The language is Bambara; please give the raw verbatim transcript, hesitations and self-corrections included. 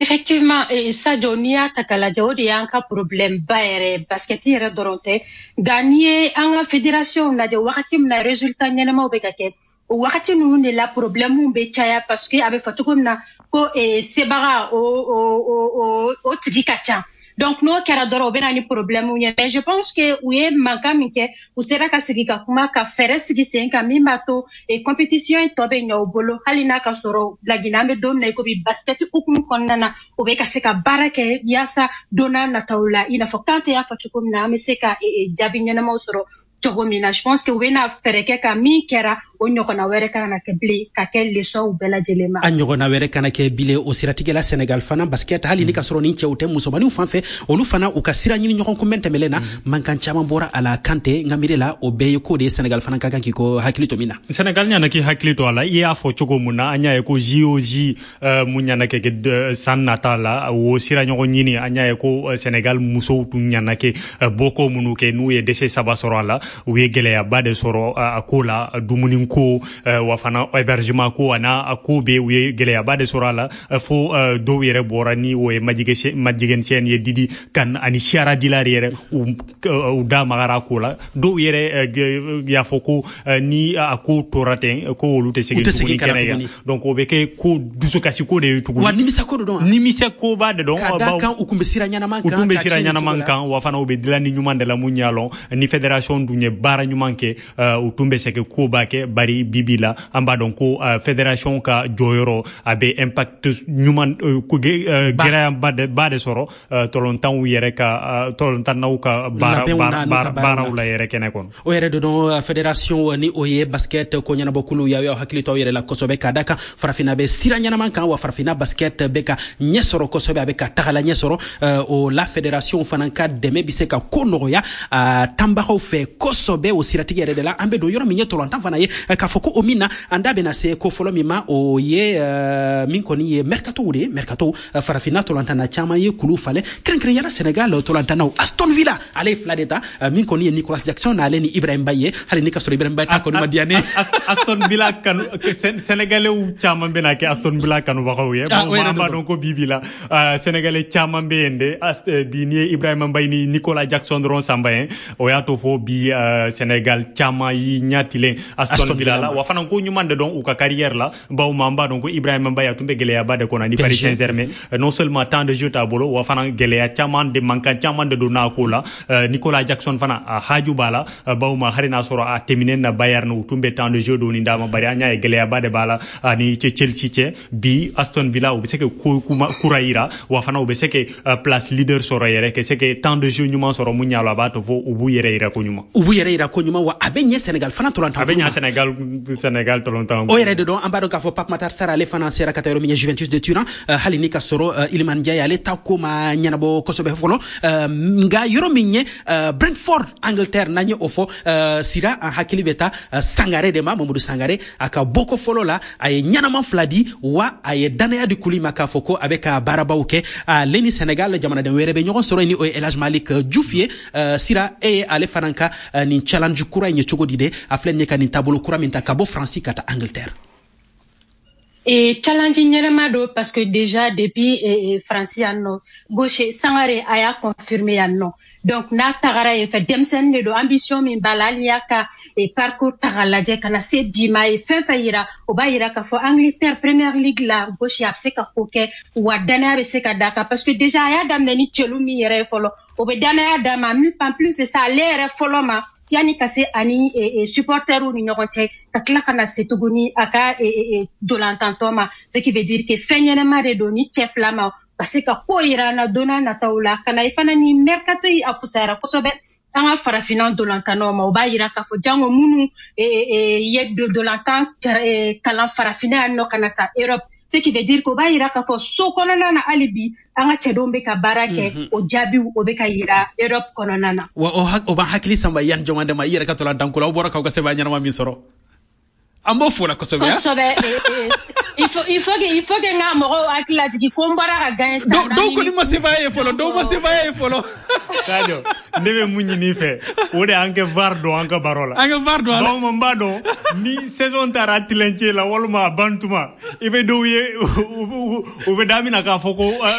Effectivement, eh, Sadio, n'i y'a ta k'a lajɛ, o de y'an ka problème ba yɛrɛ, basket yɛrɛ dɔrɔn tɛ. Nka n'i ye an ka fédération lajɛ, wagati min na résultat ɲɛnamaw bɛ ka kɛ, o wagati ninnu de la problème bɛ caya, parce que a bɛ fɔ cogo min na ko eh, sebaga o o o o o tigi ka ca. Donc n'o kɛra dɔrɔn, o bɛ na ni problème ye. Mais je pense que u ye mankan min kɛ, u sera ka sigi ka kuma ka fɛɛrɛ sigi sen kan min b'a to eh, compétition in tɔ bɛ ɲɛ u bolo, hali n'a ka sɔrɔ Laginɛ, an bɛ don min na i ko bi, basket hukumu kɔnɔna na, u bɛ ka se ka baara kɛ yaasa don n'a nataw la, i n'a fɔ Kante y'a fɔ cogo min na, an bɛ se ka eh, eh, jaabi ɲɛnamaw sɔrɔ cogo min na. Je pense que u bɛna fɛɛrɛ kɛ ka min kɛra, o ɲɔgɔnna wɛrɛ kana kɛ bilen, ka kɛ leçon bɛɛ lajɛlen ma. A ɲɔgɔnna wɛrɛ kana kɛ bilen. O siratigɛla, Sénégal fana basket, hali ni ka sɔrɔ ni cɛw tɛ, musomaninw fan fɛ, olu fana u ka sira ɲini ɲɔgɔn kunbɛn tɛmɛlen na, mankan caman bɔra a la. Kante, n ka miiri la, o bɛɛ ye ko de ye Sénégal fana ka kan k'i ko hakili to min na. Sénégal ɲana k'i hakili to a la. I y'a fɔ cogo mun na, an y'a ye ko J O J uh, mun ɲana kɛ kɛ san nata la, o sira ɲɔgɔn ɲini, an y'a ye ko Sénégal musow tun ɲana kɛ uh, bɔko minnu kɛ, n'u ye dɛsɛ saba sɔrɔ a la, u ye gɛlɛyaba de sɔrɔ a ko la, dumuni ko wa fana hébergement ko, a n'a ko bɛ, u ye gɛlɛyaba de sɔrɔ a la, fo dɔw yɛrɛ bɔra, ni o ye Madjiguène Sène ye, Didi Kane ani Chiara Dillard yɛrɛ, u da magara ko la. Dɔw yɛrɛ y'a fɔ ko ni a ko tora ten, ko olu tɛ segin tuguni kɛnɛ kan. Donc o bɛ kɛ ko dusukasi ko de ye tuguni. Wa nimisa ko de don. Nimisa koba de don. Ka da kan u kun bɛ sira ɲɛnama kan. U tun bɛ sira ɲɛnama kan, wa fana u bɛ dilanni ɲuman de la. Mun y'a lɔn, ni fédération dun ye baara ɲuman kɛ, u tun bɛ se ka koba kɛ. Bari bibi la, an b'a dɔn ko fédération ka jɔyɔrɔ, a bɛ impact ɲuman, gɛlɛyaba de ba de sɔrɔ tɔlɔntanw yɛrɛ ka, tɔlɔntannaw ka baara baaraw la yɛrɛ kɛnɛ kɔnɔ. O yɛrɛ de don, fédération ni o ye basket ko ɲɛnabɔkulu, y'aw y'aw hakili to aw yɛrɛ la kosɛbɛ, ka da kan Farafinna bɛ sira ɲɛnaman kan, wa Farafinna basket bɛ ka ɲɛ sɔrɔ kosɛbɛ, a bɛ ka tagala ɲɛ sɔrɔ. O la, fédération fana ka dɛmɛ bɛ se ka ko nɔgɔya tanbagaw fɛ kosɛbɛ. O siratigɛ yɛrɛ de la, an bɛ don yɔrɔ min ye tɔlɔntan fana ye, k'a fɔ ko o min na, an da bɛna se ko fɔlɔ min ma, o ye min kɔni ye mercato de ye. Mercato, Farafinna tɔlɔntanna caman ye kulu falen, kɛrɛnkɛrɛnyala Sénégal tɔlɔntannaw. Aston Villa, ale ye fila de ta, min kɔni ye Nicolas Jackson n'ale ni Ibrahim Mbaye ye, hali ni ka sɔrɔ Ibrahim Mbaye ta kɔni ma diya ne. Aston Villa kanu, Sénégalais caman bɛna kɛ Aston Villa kanubagaw ye. An b'a dɔn ko bi bi la, Sénégalais caman bɛ yen de. Bi, n'i ye Ibrahim Mbaye ni Nicolas Jackson dɔrɔn sanba ye, o y'a to fo bi Sénégal caman y'i ɲɛ tilen Aston Villa la. Wa fana ko ɲuman de dɔn u ka carrière la, bawo an b'a dɔn ko Ibrahim Mbaye, a tun bɛ gɛlɛyaba de kɔnɔ ni Paris Saint-Germain. Non seulement temps de jeu t'a bolo, wa fana gɛlɛya caman de, mankan caman de donna a ko la. Nicolas Jackson fana, a haju b'a la, bawo ma hali n'a sɔrɔ a tɛmɛnen na Bayern, u tun bɛ temps de jeu dɔɔni d'a ma, bari an y'a ye gɛlɛyaba de b'a la ani Chelsea cɛ. Bi, Aston Villa, u bɛ se ka ko kura yira, wa fana u bɛ se ka place leader sɔrɔ yɛrɛ, ka se ka temps de jeu ɲuman sɔrɔ. Mun y'a la, a b'a to fo u b'u yɛrɛ yira ko ɲuman. U b'u yɛrɛ yira ko ɲuman, wa a bɛ ɲɛ Sénégal fana tɔlɔntan. A bɛ ɲɛ Sénégal Sénégal tɔlɔntan. O yɛrɛ de don, an b'a dɔn k'a fɔ Pape Matar Sarr, ale fana sera ka taa yɔrɔ min ye, Juventus de Turin, hali ni ka sɔrɔ Iliman Ndiaye, ale ta ko ma ɲɛnabɔ kosɛbɛ fɔlɔ. Nka yɔrɔ min ye Brentford, Angleterre, n'an ye o fɔ, sira an hakili bɛ taa Sangare de ma, Mamadou Sangare. A ka bɔko fɔlɔ la, a ye ɲɛnama fila di, wa a ye danaya di kuli ma k'a fɔ ko a bɛ ka baarabaw kɛ. Ale ni Sénégal jamanaden wɛrɛ bɛ ɲɔgɔn sɔrɔ, ni o ye El Hadj Malick Diouf ye. Sira, e ye ale fana ka nin challenge kura in ye cogo di de? A filɛ nin ye ka nin taabolo kura min ta ka bɔ Faransi ka taa Angleterre. Et challenge ɲɛnama don, parce que déjà depuis eh, Faransi yan nɔ, gaucher Sangare a y'a confirmé yan nɔ. Donc n'a tagara yen fɛ, denmisɛnnin de don, ambition min b'a la, hali n'i y'a ka eh, parcours ta k'a lajɛ ka na se bi ma, a ye fɛn fɛn yira, o b'a yira k'a fɔ Angleterre Premier League la, gaucher a bɛ se ka ko kɛ, wa danaya bɛ se ka d'a kan, parce que déjà a y'a daminɛ ni cɛlu min yɛrɛ ye fɔlɔ, o bɛ danaya d'a ma. En plus de ça, ale yɛrɛ fɔlɔ ma, yanni ka se ani e, e, supporteriw ni ɲɔgɔn cɛ, ka tila ka na se tuguni a ka e, e, dolantantɔ ma, ce qui veut dire que fɛn ɲɛnɛma de don ni cɛ fila ma ka se ka ko yira an na don n'a nataw la. Ka na i fana ni mercato yi, a fusayara kosɛbɛ an ka Farafinna dolantannaw ma. O b'a yira k'a fɔ jango minnu ye dolantan kalan Farafinna yan nɔ ka na sa Europe, ce qui veut dire que o b'a yira k'a fɔ so kɔnɔna na, hali bi an ka cɛdenw bɛ ka baara kɛ, o jaabiw o bɛ ka yira Europe kɔnɔna na. Wa o b'an hakili sanba yan jɔn ma, i yɛrɛ ka tolantan ko la, aw bɔra k'aw ka sɛbɛn ɲɛnama min sɔrɔ. An b'o fo la kosɛbɛ. Kosɛbɛ. Il faut il faut que il faut que n ka mɔgɔw hakili lajigin ko n bɔra ka gagner sisan. Dɔw kɔni ma sebaaya ye fɔlɔ, dɔw ma sebaaya ye fɔlɔ. Sadio, ne bɛ mun ɲini i fɛ, o de y'an kɛ VAR don an ka baro la. An ka VAR don a la. Bawo n b'a dɔn ni saison taara tilencɛ la walima a ban tuma, i bɛ dɔw ye, u bɛ daminɛ k'a fɔ ko